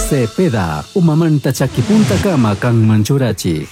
Cepeda, umamanta chakipuntakama kanman churachik.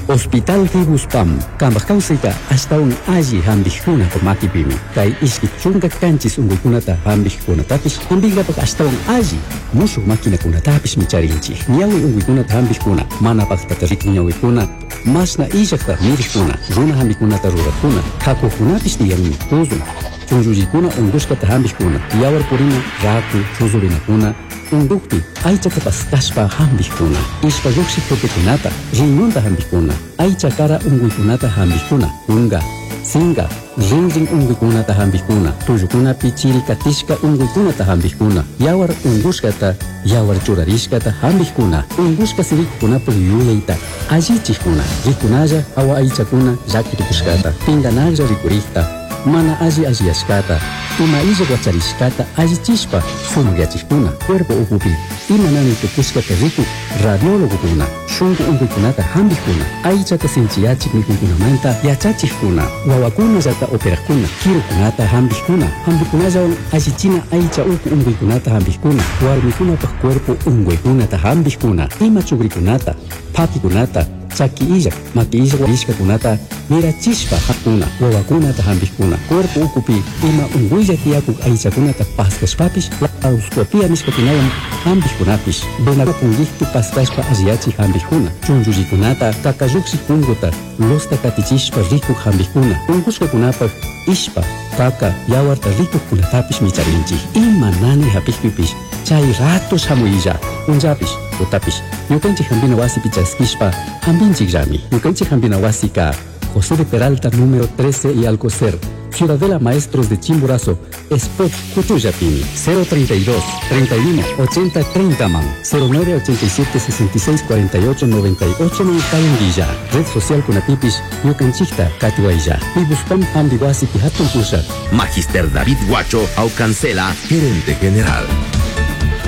Hospital Fibuspam, kambaj kawsayta ashtawan alli hampikkunapa makipimi. Kay 27 unkuykunata hampikkunatapish hampinkapak ashtawan alli mushuk maquinakunatapishmi charinchik. Ñawi unkuykunata hampikkuna, mana paktata rikuk ñawikuna, mashna illakta mirikkuna, runa hampikunata rurakkuna, kakukunapish tiyanmi, tuzun, chunllullikuna unkushkata hampikkuna, yawar purina, raku, chuzurinakuna, unkukpi aychata paskashpa hampikkuna, ishpa llukshik tupikunata, riñonta hampikkuna, aycha kara unkuykunata hampikkuna, kunka, sinka, rinrin unkuykunata hampikkuna, tullukunapi chiri katishka unkuykunata hampikkuna, yawar unkushkata, yawar churarishkata hampikkuna, unkushka sirikukunapak yuyayta allichikkuna, rikunalla hawa aychakuna llaki tukushkata, pinkanaklla rikurikta, mana alli alliyashkata, ima illak wacharishkata allichishpa sumakyachikkuna, cuerpo ukupi ima nani tukushkata rikuk radiólogokuna, shunku unkuykunata hampikkuna, aychata sinchiyachik mikuykunamanta yachachikkuna, wawakunallata operakkuna, kirukunata hampikkuna, hampikunallawan allichina aycha uku unkuykunata hampikkuna, warmikunapak cuerpo unkuykunata hampikkuna, ima chukrikunata, phakikunata, chaki illak, maki illak warishkakunata mirachishpa hakuna, wawakunata hampikkuna, cuerpo ukupi ima unkuylla tiyakuk aychakunata paskashpapish laparoscopia nishkakunawan hampikkunapish, vena punkikpi paskashpa alliyachik hampikkuna, chunchullikunata, kakallukshik punkuta, losta katichishpa rikuk hampikkuna, unkushkakunapak ishpa, kaka, yawarta rikukkunatapish micharinchik. Ima nani hapikpipish chay rato shamuylla, punllapish, tutapish, ñukanchik hampina wasipi chaskishpa hampinchikllami. Ñukanchik hampina wasika José de Peralta número 13 y Alcocer, Ciudadela Maestros de Chimborazo, Spot Cuchuyapini, 032 31 80 30 man, 09 87 66 48 98 man Cayanguilla, Red Social Kunatipis, Ñukanchikta Katiwaylla, Pibuspam Hambiwasipi Hatun Pushak. Magister David Guacho Aucancela, gerente general.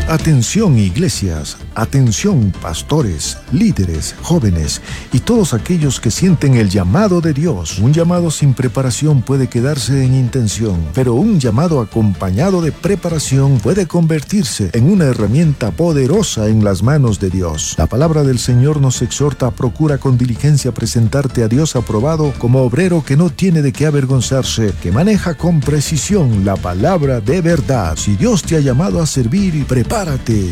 Atención iglesias, atención pastores, líderes, jóvenes y todos aquellos que sienten el llamado de Dios. Un llamado sin preparación puede quedarse en intención, pero un llamado acompañado de preparación puede convertirse en una herramienta poderosa en las manos de Dios. La palabra del Señor nos exhorta a procura con diligencia presentarte a Dios aprobado como obrero que no tiene de qué avergonzarse, que maneja con precisión la palabra de verdad. Si Dios te ha llamado a servir, prepárate.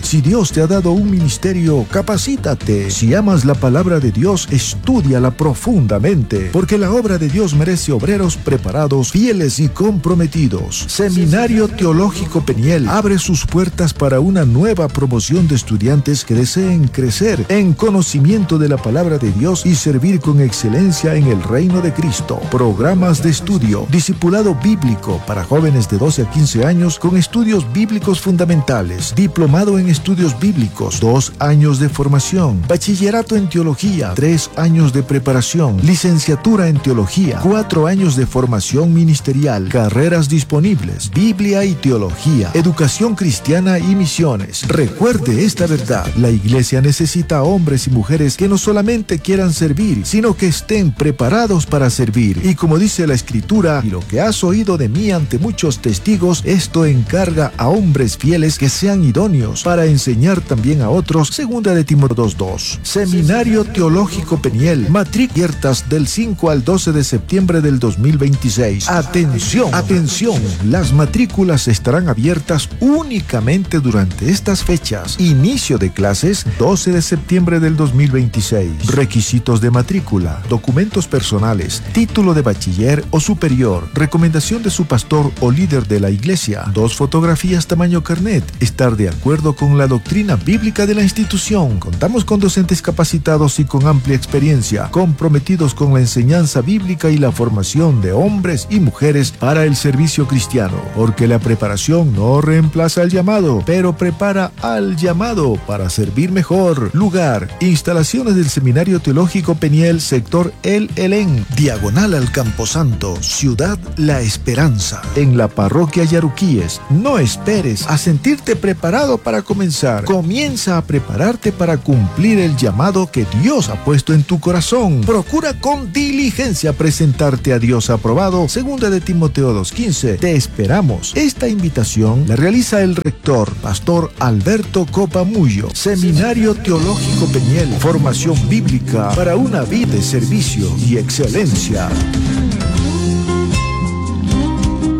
Si Dios te ha dado un ministerio, capacítate. Si amas la palabra de Dios, estúdiala profundamente, porque la obra de Dios merece obreros preparados, fieles y comprometidos. Seminario Teológico Peniel abre sus puertas para una nueva promoción de estudiantes que deseen crecer en conocimiento de la palabra de Dios y servir con excelencia en el reino de Cristo. Programas de estudio, discipulado bíblico para jóvenes de 12 a 15 años con estudios bíblicos fundamentales, diplomado en estudios bíblicos, 2 años de formación, bachillerato en teología, 3 años de preparación, licenciatura en teología, 4 años de formación ministerial, carreras disponibles, Biblia y teología, educación cristiana y misiones. Recuerde esta verdad, la iglesia necesita hombres y mujeres que no solamente quieran servir, sino que estén preparados para servir. Y como dice la escritura, y lo que has oído de mí ante muchos testigos, esto encarga a hombres fieles que sean idóneos para enseñar también a otros. Segunda de Timoteo 2:2. Seminario Teológico Peniel, matrículas abiertas del 5 al 12 de septiembre del 2026. Atención, atención, las matrículas estarán abiertas únicamente durante estas fechas. Inicio de clases 12 de septiembre del 2026. Requisitos de matrícula, documentos personales, título de bachiller o superior, recomendación de su pastor o líder de la iglesia, 2 fotografías tamaño carnet, estar de acuerdo con la doctrina bíblica de la institución. Contamos con docentes capacitados y con amplia experiencia, comprometidos con la enseñanza bíblica y la formación de hombres y mujeres para el servicio cristiano, porque la preparación no reemplaza al llamado, pero prepara al llamado para servir mejor. Lugar, instalaciones del Seminario Teológico Peniel, sector El Elén, diagonal al Camposanto, Ciudad La Esperanza, en la parroquia Yaruquíes. No esperes a sentirte preparado para comenzar. Comienza Comienza a prepararte para cumplir el llamado que Dios ha puesto en tu corazón. Procura con diligencia presentarte a Dios aprobado. Segunda de Timoteo 2.15. Te esperamos. Esta invitación la realiza el rector, Pastor Alberto Copamullo, Seminario Teológico Peñel, formación bíblica para una vida de servicio y excelencia.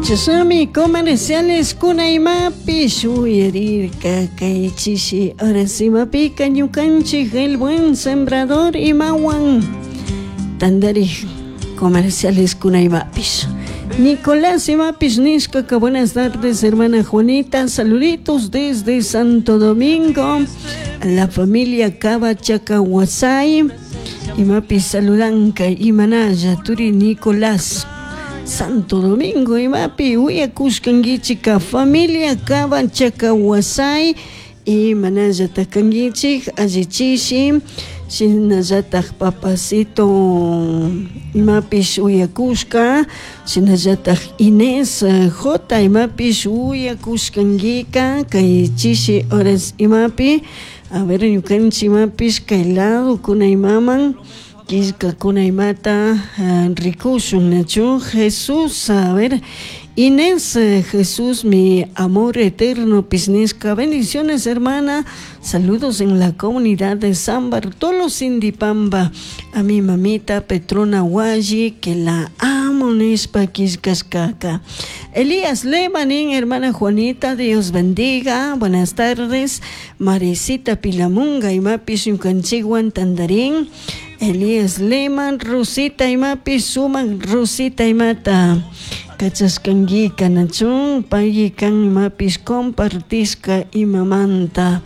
Chasami comerciales kuna imapish uyarirka kay chishi horas imapika ñukanchik el buen sembrador imawan tandarij comerciales kuna imapish. Nicolás imapish nishkaka buenas tardes hermana Juanita, saluditos desde Santo Domingo a la familia Cabachacahuasay imapish saludanka imanalla turi Nicolás. Santo Domingo imapi uyakushkankichika familia Cabachacahuasay imanallatak kankichik allichishi shinallatak papacito imapish uyakushka shinallatak Inés J imapish uyakushkankika kay chishi horas imapi a ver ñukanchik imapish kay lado kuna imaman killkakuna imata rikushun nachu Jesús a ver Inés Jesús mi amor eterno pisnisca bendiciones hermana saludos en la comunidad de San Bartolo Sindipamba a mi mamita Petrona Hualli que la amo nishpa killkashkaka. Elías Lemanin, hermana Juanita, Dios bendiga, buenas tardes. Marecita Pilamunga, imapish ñukanchikwan tandarín. Elías Leman, Rosita imapish sumak Rosita imata. Kachashkankika nachun, payki kan imapish compartishka imamanta.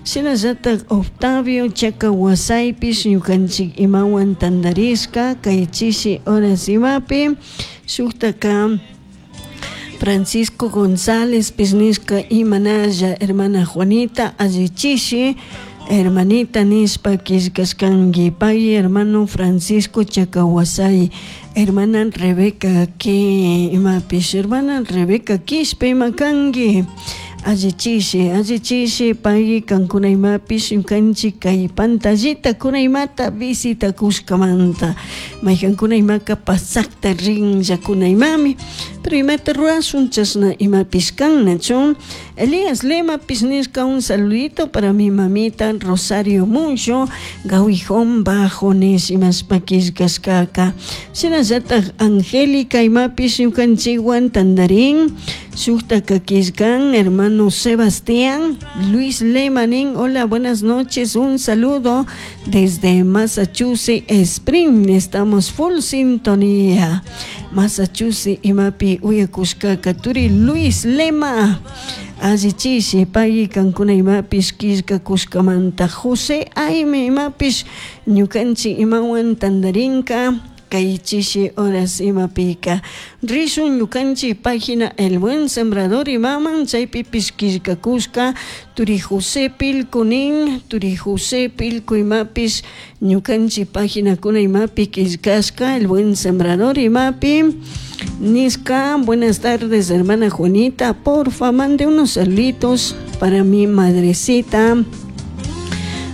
Shinallatak Octavio Chacahuasaypish ñukanchik imawan tandarishka kay chishi horas imapi shuktaka Francisco González pisnishka imanalla hermana Juanita allichishi hermanita nishpa killkashkanki pay hermano Francisco Chacahuasay hermana Rebeca que imapish hermana Rebeca Quispe imakanki allichishi allichishi pay kankuna imapish ñukanchik kay pantallita kuna imata visitakushkamanta maykankuna imaka pasakta rinllakuna imami pero imata rurashun chashna imapish kan nachu. Elías Lema nishka un saludito para mi mamita Rosario Mucho Gawijón Bajo nish imashpa killkashkaka shinallatak Angélica imapish ñukanchikwan tandarín shuktaka killkan hermano Sebastián Luis Lemanin, hola, buenas noches, un saludo desde Massachusetts Spring, estamos full sintonía. Massachusetts imapi uyakushkaka turi Luis Lema allichishi pay kankuna imapish killkakushkamanta. José Aime imapish ñukanchik imawan tandarinka kay chishi horas imapika. Rishun ñukanchik página El Buen Sembrador imaman chaypipish killkakushka turi José Pilco nin turi José Pilco imapish ñukanchik página kuna imapi killkashka El Buen Sembrador imapi Niska, buenas tardes hermana Juanita, porfa mande unos saluditos para mi madrecita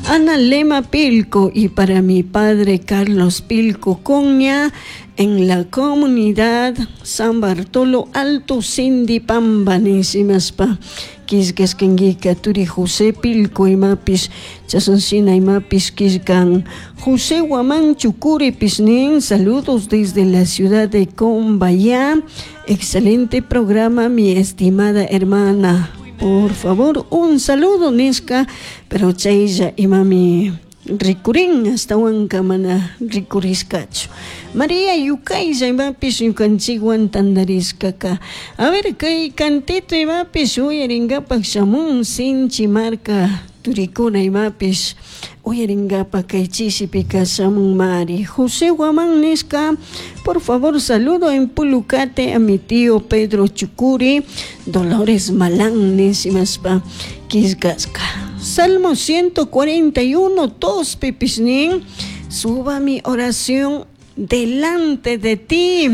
Ana Lema Pilco y para mi padre Carlos Pilco Coña en la comunidad San Bartolo Alto Sindipamba nishimashpa killkashkankika turi José Pilco imapish chashanshina imapish killkan. José Guamán Chucuri nin, saludos desde la ciudad de Combayá, excelente programa mi estimada hermana. Por favor, un saludo, nishka, pero chaylla imami rikurin hasta mana rikurishkachu. María Yukaylla imapish ñukanchikwan tandarishkaka. A ver, kay cantito imapish uyarinkapak shamun sinchi marka turikuna imapish uyarinkapak kay chishipika shamun mari. José Guamán nishka, por favor, saludo en Pulucate a mi tío Pedro Chucuri, Dolores Malán nishimashpa killkashka. Salmo 141, 2 pipishnin, suba mi oración delante de ti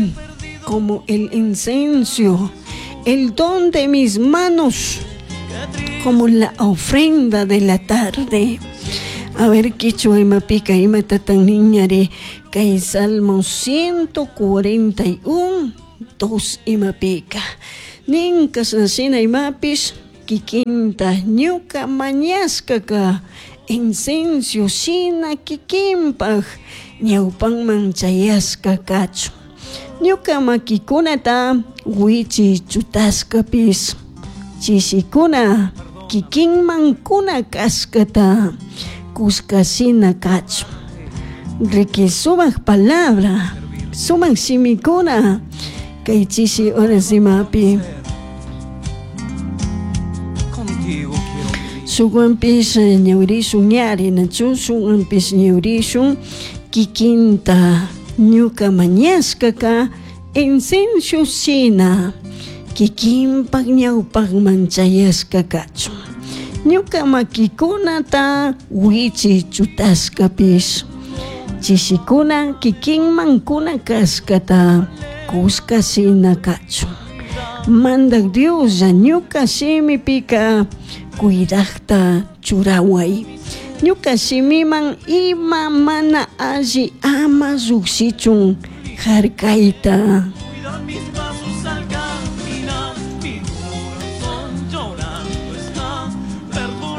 como el incenso, el don de mis manos Como la ofrenda de la tarde. A ver, quichua imapika imatatan niñari kay Salmo 141, 2 imapika. Nin kashnashina imapish kikinta ñuka mañashkaka incencio shina kikinpaj ñawpanman chayashka kachun. Ñuka makikunata wichi chutashkapish chishikuna kikinman kuna kashkata kushka shina kachun. Riki sumak palabra, sumak shimikuna kay chishi horas imapi. Shukwanpish ñawirishun ñari nachu shukwanpish ñawirishun kikinta ñuka mañashkaka incencio shina kikinpak ñawpakman chayashka kachun. Ñuka makikunata wichi chutashkapish chishikuna kikinman kuna kashkata kushka shina kachun. Mandak Dioslla ñuka shimipika cuidakta churaway. Ñuka shimiman ima mana alli ama llukshichun harkayta.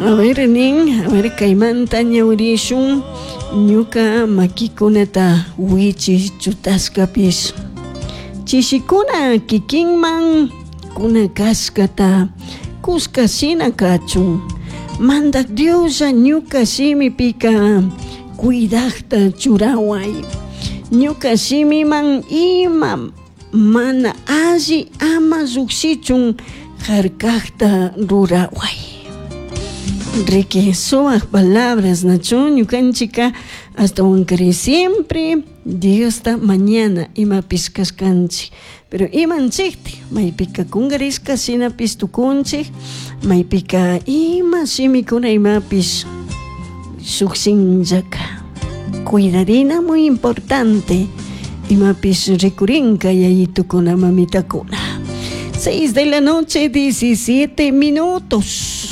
A ver, nin, a ver, kaymanta ñawirishun ñuka makikunata wichi chutashkapish. Chishikuna kikinman kuna kashkata kushka shina kachun. Mandak Dioslla ñuka shimipika cuidakta churaway. Ñuka shimiman ima mana alli ama llukshichun harkakta ruraway. Riki sumak palabras nachu ñukanchika hasta wankari siempre Diosta mañana imapish kashkanchik. Pero imanchikti maypika kunkarishka shinapish tukunchik maypika ima shimikuna imapish shukshinllaka. Cuidarina muy importante imapish rikurinka yayitukuna mamitakuna. 6 de la noche, 17 minutos.